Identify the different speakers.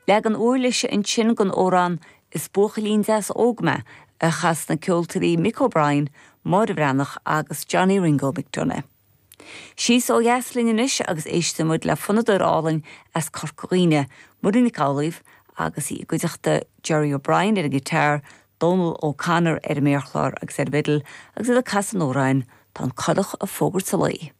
Speaker 1: Leagan uirlise ansin den amhrán 'Is Buachaillín Deas Óg Mé' a chas na ceoltóirí Mick O'Brien, Máire Bhreathnach agus Johnny Ringo McDonagh. Síos ó dheas linn anois agus éistfidh muid le fonnadóir álainn as Corca Dhuibhne, Muireann Nic Amhlaoibh, agus í i gcuideachta Jerry O'Brien ar an ngiotár, Dónal O'Connor ar an méarchlár agus ar an bhfidil agus iad ag casadh an amhráin 'Tá an Coileach ag Fógairt a Laoi'.